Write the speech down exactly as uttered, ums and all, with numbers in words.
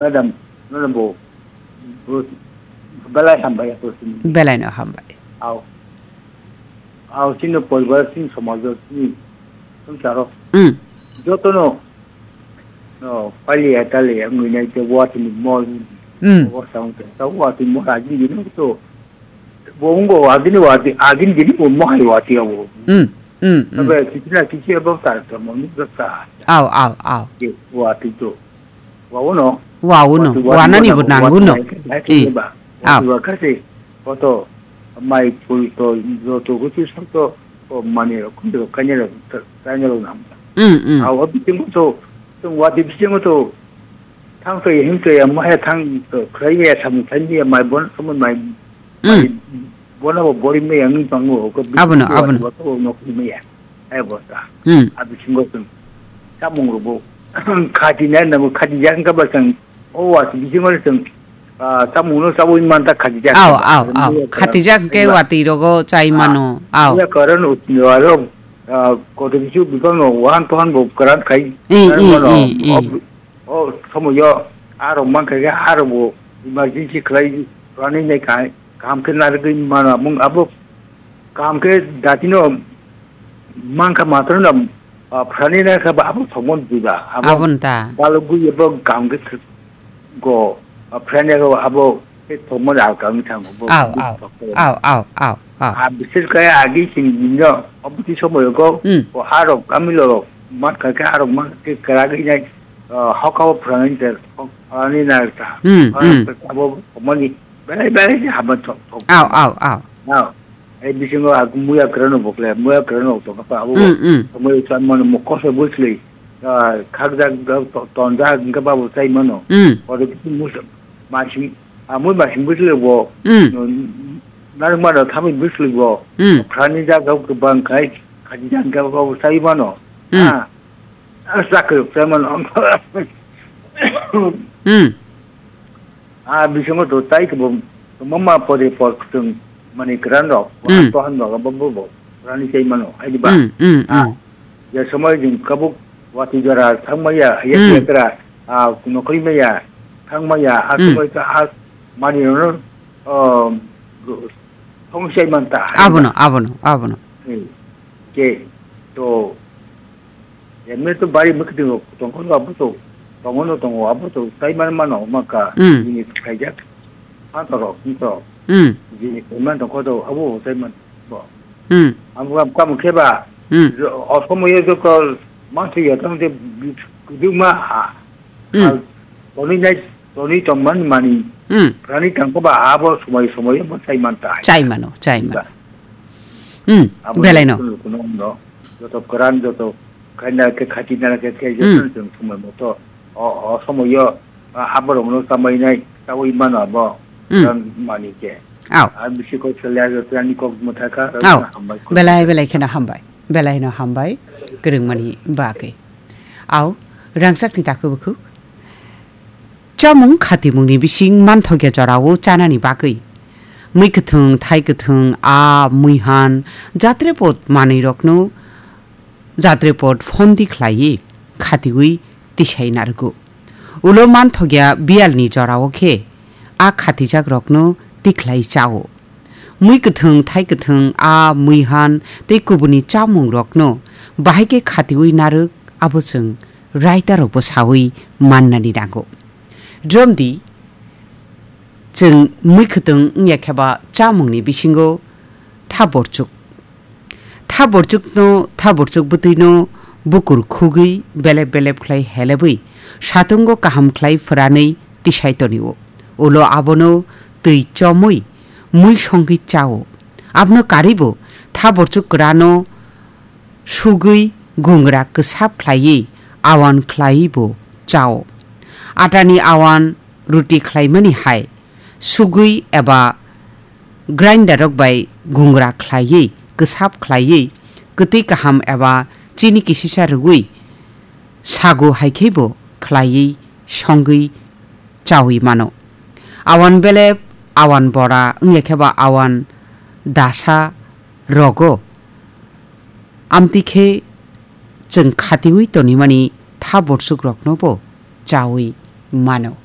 Madam, nono bo, bo belai hambai ya, bo sini. Belai no hambai. Au. Au, sini poribar, sini somaj, sini songcharo. Mm. Joto no, no, pali ya, tali ya, ngui nai te, watwi ni mol, Mm. Obo sa ungte, sa watwi mo agin gini to. Bo ungo agini watwi, agini gini bo mo hai watwi abo. Mm. Mm. Mm. Tabe kichina kichi abo ta, ta mo ni ta. Au, au, au. Ke watwi to. Wa uno. Wa uno. Watwi, watwi, Wa nani bo watwi, nangu no. Watwi, watwi, Eh. Ba. Au. Watwi wa kasi. Koto mai pul to, jo to, kuchi sa to, ko mani ro, kundi ro, kanya ro, kanya ro nam. Mm, mm. Au, abi tingu to, tung watwi bisingo to, Thang twi him twi ya, mo he thang twi khlai ya, samung thai ya, mai bon, samung mai, Mm. mai bon abo bori me yang tong o, ko bi Abono, ko abono. Wa ko no ko me ya. Ai bo ta. Mm. Abi singo tong. Samung ro bo. Khati na na mo khati yang ka ba tong. O wa bi singo tong. Ah, samung no sabo man ta khati jak. Au, au, au. Khati jak ke watwi rogo chai mano. Au. Ya karan ut ni wa ro. Ah, ko de bisu bi no wan to han bo karan khai. Eh, Karan eh, mano. Eh, eh. Ob-, O somoyo arok mankha khe arok bo emergency khlai rani nai kaham, kaham khe narwgwi mano. Amung abo kaham khe datino mankha matwrwino, ah, phrani nai khe bo abo thokmani bwba. Abo Aboni ta. Balugwi abo kaham khe go, ah, phrani nai khe abo khe thokmani alka wngwi thango. Bo Au, bwswk au, thokmani. Au, au, au, au. Ah, bisir kaya agi sing dino, obuti somoyo go, Hmm. O arok, amilo rok, mat kha khe arok mat khe kwragwi nai, ah, hokha o phrangni ter, hok-, ani nar ta. Hmm, Arok hmm. Abo mani belai belai se hama thok, thok. Au, au, au. Au. Ei bisingo ak muya kwrwno bokle, muya kwrwno tong kha abo. Hmm, hmm. Somoyo chan mano mo koso bwsli, ah, khakjak, to-, tonjak, hingke babo chai mano. Hmm. Oro kisi musa, Masing, amui masing bwswlwi bo, Mm. no, narwkmano thamwi bwswlwi bo, Mm. phrani jaga kwbang khai, khachi jaga bo sai mano. Mm. Ah, ah, sakhe sai mano. Mm. Ah, bisingo to tai kwbang, mama pore por kwtwng mani kwran rok, Mm. Tohan rok, bo, bo, bo, phrani sai mano, hai di ba? Mm, mm, Ah, mm. Je somoi jing kabuk wati jora thangmaya, ya Hmm. Yakra, ah, nokri maya, thangmaya, ha Hmm. Somoi ta ha mani no, um, thong sai man ta. Abono, abono, abono. Hmm. Ke, to, emne to bari mukti tongkol abo to, tongono tongo abo to, sai man mano, maka, Hmm. Ini khaijak. Antoro, antoro. Hmm. Jini koiman tongkho do, abo taiman bo. Hmm. Amo kam, kam khe ba, Hmm. Jo-, osomo ye jokol, mansi ya tang je, kuduma, ha. Hmm. Ha, toni nai, toni tongman mani. Hmm. Rani tangkho ba, abo somoi, somoi bo taiman ta. Chai mano, chai mano. Ba. Hmm, Abo belai no. Kuno, kuno, no. Joto koran, joto Khaina khe, khatina khe, khe, Hmm. Jotono chwng somoi moto, o, o somoio, a, aborokno chamainai, chaui mano abo, Hmm. Jan mani khe. Au. A bisi kok selya joto ani kok mwthakha, Au. Hambai kok. Belai, belai kheno hambai. Belai no hambai. Kwrwngmani bagwi. Au. Rangchakni takhuk bukhuk. Chamung khatimungni bising manthokya jorao chanani bagwi. Mui kwthwng, thai kwthwng, aa, muihan, jatrepot manwirokno jatrepot phondi khlaiwi khatiwi tisai narwgo. Ulo manthokya biyalni jorao khe a khatijakrokno tikhlai chao. Mui kwthwng, thai kwthwng, aa, muihan tei kubuni chamungrokno bahai khe khatiwi narwk abo chwng raita rokbo sawi mannani nango. Dromdi chwng mui kwthwng wngya khe ba chamungni bisingo thaborchuk. Thaborchukno, thaborchuk bwtwino bukur khugwi belep belep khlai helebwi satungo kaham khlai phwranwi tisai tonio. Ulo abono twi chomwi mui songwi chao. Abono karwibo thaborchuk kwrano sugwi gungra kwsap khlaiwi awan khlaiwi bo chao. Atani awan ruti khlaimani hai sugwi eba grinder rok bai gungra khlaiwi kwsap khlaiwi kwtwi kaham eba chini kisisa rwgwi sago hai khe bo khlaiwi songwi chawi mano. Awan belep, awan bora wngya khe ba awan dasa rogo. Amtwi khe chwng khatiwi tonimani thaborchukrokno bo chawi mano.